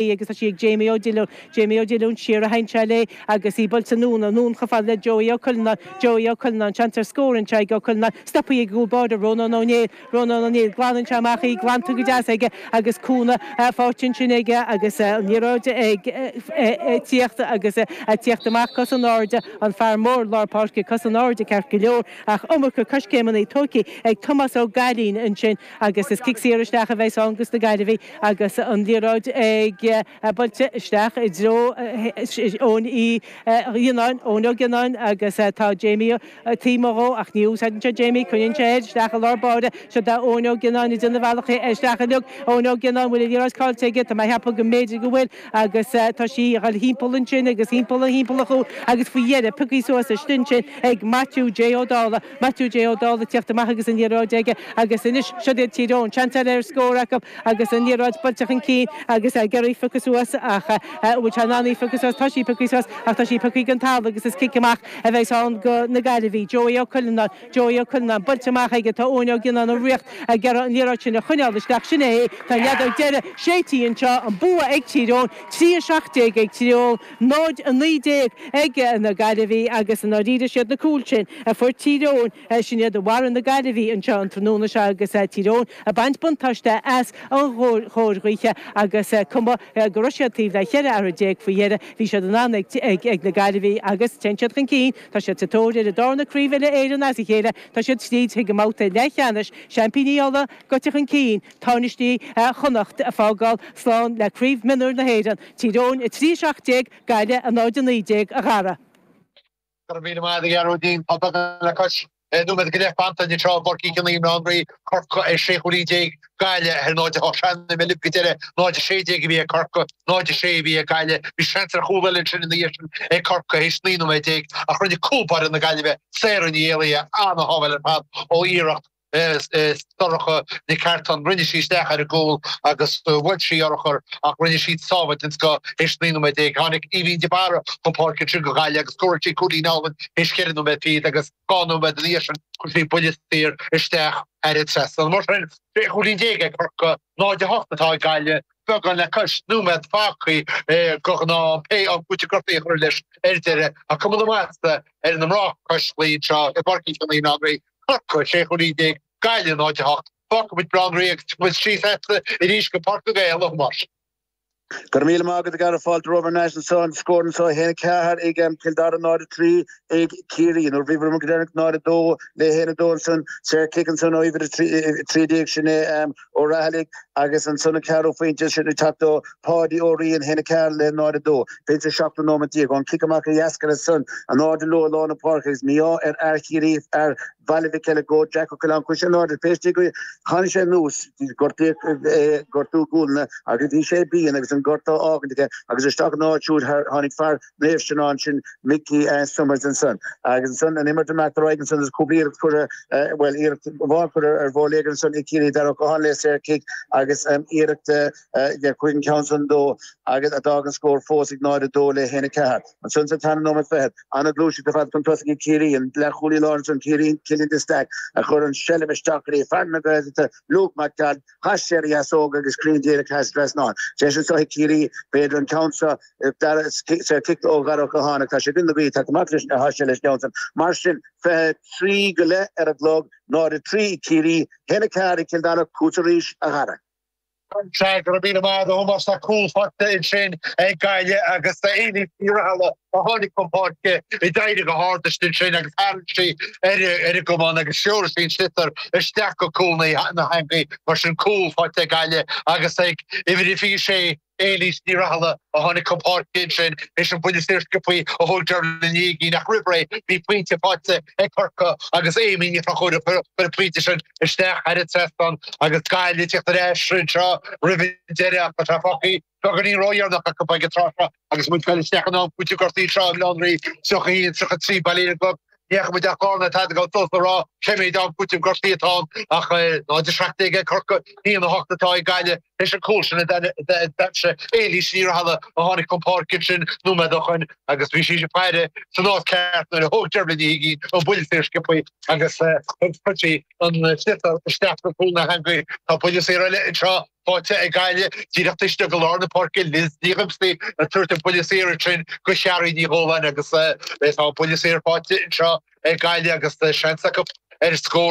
Agus tá sí ag Jamie Ó Diollúin. Jamie Ó Diollúin siar a theann sé léi agus í buailte anonn, anonn chomh fada le Joey Ó Cuilleanáin. Joey Ó Cuilleanáin, seans ar scór anseo ag Ó Cuilleanáin. Stoptha ag an gcúl báire, Rónán Ó Néill. Rónán Ó Néill, glanann sé amach í, glanta go deas aige agus cúnamh faighte ansin aige agus an liathróid ag tíocht agus ag tíocht amach cos in airde, an fear mór lár páirce cos in airde ceart go leor ach iomarca coiscéimeanna tógtha ag Tomás Ó Gailín ansin agus is cic saor isteach a bheas ann dos na Gaillimhigh. Agus an liathróid ag buailte isteach i dtreo Eoin Uí Ghionnáin, Eoin Ó Gionnáin, agus tá Jamie taobh amuigh dhó ach ní úsáideann sé Jamie, coinníonn sé air isteach i lár báire. Seo do Eoin Ó Gionnáin ag déanamh a bhealach isteach uilig. Eoin Ó Gionnáin, bhfuil an liathróid caillte aige? Tá mé a cheapadh go mb'fhéidir go bhfuil agus tá sí ag dul thimpeall ansin agus thimpeall an thimpeall an chúil agus faoi dheireadh pioctha suas istigh ansin ag Maitiú J Ó Dálaigh. Maitiú J Ó Dálaigh ag tíocht amach agus an liathróid aige agus anois siod iad Tír Eoghain, seans eile ar scór acu agus an liathróid buailte chun cinn agus ag iarraidh í a phiocadh suas ach an bhfuil sé in ann í a phiocadh suas? Tá sí pioctha suas ach tá sí pioctha den talamh agus is cic amach a bheas ann do na Gaillimhigh. Joey Ó Cuilleanáin, Joey Ó Cuilleanáin buailte amach aige, tá Eoin Ó Gionnáin i riocht ag iarraidh an liathróid sin a choinneáil isteach, sin é, tá an fheadóg deiridh séidte anseo, an bua ag Tír Eoghain, 3 17 ag Tír Eoghain. 0, 19 ag na Gaillimhigh agus i ndáiríre siad na cúil sin a fuair Tír Eoghain, sin iad a mharaigh na Gaillimhigh anseo an tráthnóna seo agus Tír Eoghain ag baint buntáiste as an chóir ghaoithe agus cuma go raibh siad taobh le 14 athartha faoi dheireadh, bhí siad in ann ag na Gaillimhigh agus téann siad chun cinn, tá siad sa tóir ar a darna Craobh Uile-Éireann as a chéile, tá siad tríd chuig an mbabhta leathcheannais, Seaimpíní Uladh gaibhte chun cinn, Tánaistí Chonnacht ag fágáil slán le Craobh Mionúir na hÉireann. Tír Eoghain 3, 17, Gaillimh 0, 19, a Dhara. Go raibh míle maith agat a Ghearóidín. Tá beagán le cois nóiméad go leith fanta anseo i bPáirc Uí Chionnaith i mBaile Átha an Rí, Corcaigh ar 16 chúilín, Gaillimh ar 0, 8. Breathnaigh mé libh go deireadh, 0, 16 a bhí ag Corcaigh, 0, 6 a bhí ag Gaillimh. Bhí seans ar chúl eile ansin ina dhiaidh sin ag Corcaigh théis 19 nóiméad ach rinne cúl báire na Gaillimhe, Sarah Ní Éalaithe, an-shábháil ar fad ó iarracht. Sorcha Nic Artáin. Rinne sí isteach ar an gcúl agus bhuail sí urchar ach rinne sí sábháil den scoth théis 19 nóiméad. Tháinig Aoibhín de Barra chun páirce ansin do Ghaillimh agus scóráil sí cúilín álainn théis 4 nóiméad fichead agus 2 nóiméad ina dhiaidh sin chuir sí buille saor isteach thar an trasnán. Mar sin, 16 chúilín ag Corcaigh, 0-8 atá ag Gaillimh, beagán le cois nóiméad fágtha go ghnáth pé am cúiteamh gortaithe a chur leis ar deireadh ach cuma na maitheasa ar na mná cois Laoi anseo i bPáirc Uí Chionnaith i mBaile Átha an Rí. Corcaigh, 16 chúilín, Gaillimh 0-8. Fágfaidh muid Baile Átha an Rí agus tiocfaidh muid síos agatsa arís go Páirc na nGael, a Thomáis. Go raibh míle maith agat a Dhara fáilte romhaibh thar n-ais anso an scór anso 1 4 ag Cill Dara 0 3 ag Ciarraí. Nuair a bhí go deireanach 0 2 le 1 2 ansan saor cic ansan ó uimhir 13 sin é Ó Raghallaigh agus ansan an ceathrú phointe sin ag teacht ó Pháidí Ó Riain 1 4 le 0 2. B'in sa seachtú nóiméad déag. Ón cic amach a dheascair ansan in airde leo i lár na páirce agus mí-ádh ar fhear Chiarraí, fear Bhaile Mhic Eileagóid, Jack Ó Coileáin, chuaigh sé in airde pé istigh go tháinig sé anuas, gortaíodh é, gortú gualainne agus bhí sé binn agus an gortú á fhágaint aige agus isteach ina áit siúd tháinig fear Naomh Seanán sin Mickey Summers ansan. Agus ansan an imirt imeacht ar aghaidh ansan agus cúpla iarracht curtha, bhuel, iarracht amháin curtha ar bhóléagar ansan ag Ciarraí, Darragh Ó Catháin le saor cic agus iarracht chuaigh an ceann san dó agus a d'fhág an scór fós ag 0-2 le 1-4. Ansan sa tarna nóiméad fichead, an-ghluaiseacht ar fad chun tosaigh ag Ciarraí, an leathchúlaí láir ansan, Ciarraí, Cillian de Staic a chuir an seilbh isteach go dtí fear na Gaeltachta, Luke Mac Gearailt, Chas sé ar a dheasóg agus cruinn díreach thar an trasnán. Deis anseo ag Ciarraí, b'fhéidir an ceann seo, saor cic ó Dhara Ó Catháin ach tá sé i gcoinne na gaoithe, tá amach leis, tá sé leis an gceann san. Mar sin, 23 go leith ar an gclog, 0-3 ag Ciarraí, 1-4 ag Cill Dara, chugat arís, a Dhara. Sea, go raibh míle maith agat, a Thomáis. Tá cúl faighte ansin ag Gaillimh agus Éilís Ní Rathaille a tháinig chun páirce a d'éirigh go hard istigh ansin agus tharraing sí ar an gcamán agus threoraigh sí an sliotar isteach go cúl na heangaí. Mar sin, cúl faighte ag Gaillimh agus ag uimhir a 26, Éilís Ní Rathaille a tháinig chun páirce ansin théis an buille saor sciobtha a thóg Dervla Ní Uigín ach roimh ré bhí pointe faighte ag Corcaigh agus Amy Ní Chonchúir a chuir an pointe sin isteach thar an trasnán agus Gaillimh ag tíocht ar ais anseo roimh an deireadh ach tá sé fágtha beagáinín ródheireanach acu ag an tráth seo agus muid ag dul isteach in am cúitimh gortaithe anseo i mBaile Átha an Rí, 31, 33, bail ó Dhia ort. Ní fhaca muid ach Garnet tada go suas le rá cé mhéad am cúitimh gortaithe atá ann ach 0-17 ag Corcaigh, 1-8 atá ag Gaillimh théis an cúl sin a d'aimsigh Éilís Ní Rathaille a tháinig chun páirce ansin nóiméad ó shoin agus bhí sí ag faire san áit ceart nuair a thóg Dervla Ní Uigín an buille saor sciobtha agus chuir sí an sliotar isteach go cúl na heangaí. Tá buille saor eile anseo. Faighte ag Gaillimh díreach taobh istigh de lár na páirce, Liz Ní Dhoimsí ag tabhairt an buille saor ansin do Chiara Ní Dhóláin agus tá an buille saor faighte anseo ag Gaillimh agus seans acu ar scór.